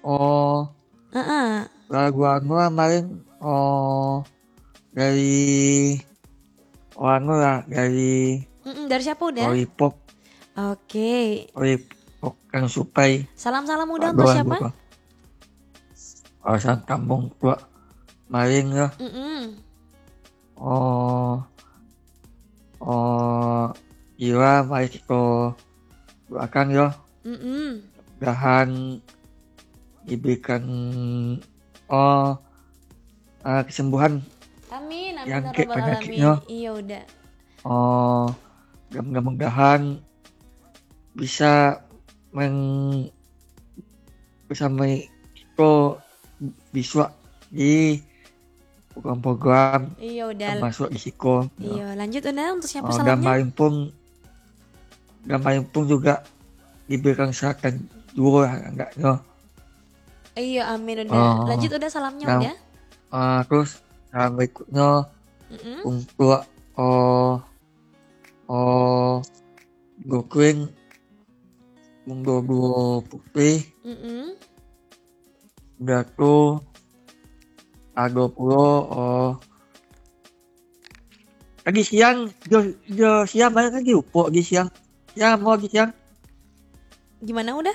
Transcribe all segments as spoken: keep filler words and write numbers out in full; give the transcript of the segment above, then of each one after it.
Oh, Heeh. Lagu anu lah, main, oh, dari, oh, anu lah, dari Mm-mm, dari siapa, Uda? Lollipop. Oke. Lollipop kan Supai. Salam-salam, Uda, untuk siapa? Alasan kampung tua main lah. Mm-mm. Oh, oh, Ira, mari kita doakan yo. Mm-mm. Mudahan diberikan, oh, ah, kesembuhan. Amin, amin, yang ya Rabbal Alamin. Iyo, Uda. Oh, mudah-mudahan bisa meng-, bersama kita bisuak di program-program. Iyo, Uda. Termasuk di siko. Iyo, lanjut, Uda, untuk siapa salamnya? Gambar impung, gambar impung juga diberikan kesehatan juo lah, agaknyo. Iyo, amin, Uda. Oh. Lanjut, Uda, salamnya, Uda. Ah, terus salam berikutnya untuk, oh, oh, Gokuin, Munggo Duo Putih. Mm-mm. Udah tu, ado pulo, oh, tadi siang, jo, jo siang banyak lagi upok tadi siang. Siang, mau tadi siang. Gimana, Uda?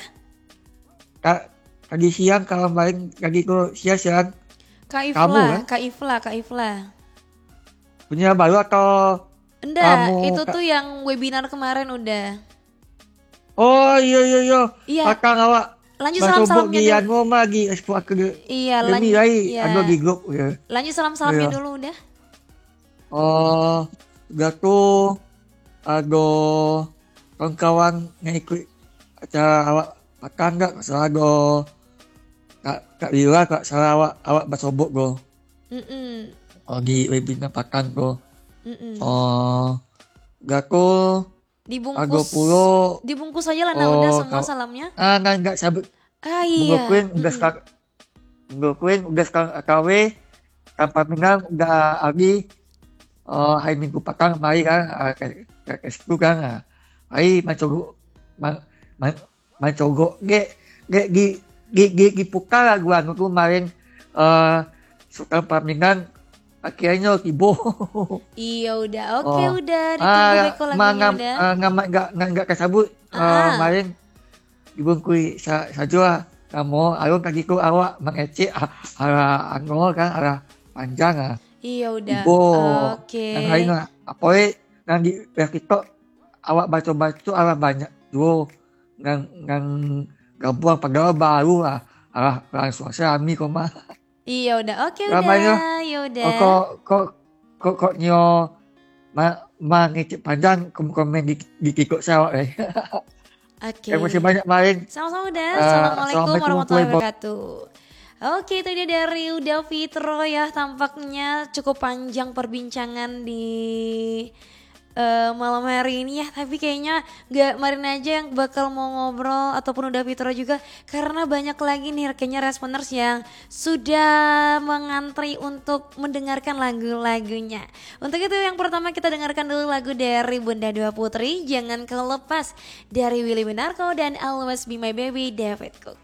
Ka-, tadi siang kalau main tadi tu siang-siang. Kak Ifla, kan? Kak Ifla, Kak Ifla. Punya baru atau Enggak, itu tu yang webinar kemarin, Uda. Oh, iyo, iyo, iyo. Iya. Patang awak. Lanjut salam-salamnya dulu. Anu mah lagi, eh, aku de-, iya, demi lanjut, lai, iya. Ado di grup, ya. Lanjut salam-salamnya dulu, Uda. Oh, udah tu, ado kawan-kawan yang ikut acara awak patang, enggak masalah, ado Kak, Kak Lila, Kak, salah awak, awak basobok, bro. Mm-mm. Oh, di webinar patang tu. Mm-mm. Oh, udah tu, Dibungkus, ado pulo, dibungkus aja lah, nak, oh, udah semua ka-, salamnya. Ah, nah, enggak sabut. Ah, iya. Mungkin udah, mm-mm, sekarang, mungkin udah sekarang, K W, tanpa minang udah habis. Oh, hari Minggu patang mari kan, ah, ke, ke, ke situ kan, ah. Mari mancogok, ma-, ma-, mancogok, gek, gek, gi, gi, gi, gi puka lagu anu tu main, eh, Sultan Paminang, akhirnyo tibo. Iyo, udah. Oke, oh, udah. Ditunggu ah, beko lagunya, mangam-, udah. Ah, ngamak gak, gak, gak kasabut, ah, eh, main dibungkui sa-, sajo lah. Namo, alun tadi tu awak mangecek, ah, arah anu kan, arah panjang lah. Iyo, udah. Tibo. Oke. Yang lain lah. Apo, eh, yang di, yang TikTok, awak baco-baco, alah banyak juo nan, nan gabuang, padahal baru lah, alah, langsuang se rami ko mah. Iyo, udah. Oke, ramai udah. Yo. Yo, udah. Oh, kok, kok, kok, kok nyo ma-, mangecek panjang kom-, komen di, di TikTok se awak, eh. Oke. Terima kasih banyak, Main. Sama-sama, udah. Ah, assalamualaikum warahmatullahi wabarakatuh. Oke, itu dia dari Uda Fitro ya. Tampaknya cukup panjang perbincangan di eh, malam hari ini ya. Tapi kayaknya nggak Marin aja yang bakal mau ngobrol ataupun Uda Fitro juga, karena banyak lagi nih kayaknya responers yang sudah mengantri untuk mendengarkan lagu-lagunya. Untuk itu, yang pertama kita dengarkan dulu lagu dari Bunda Dua Putri, Jangan Kau Lepas, dari Willy Winarko dan Always Be My Baby, David Cook.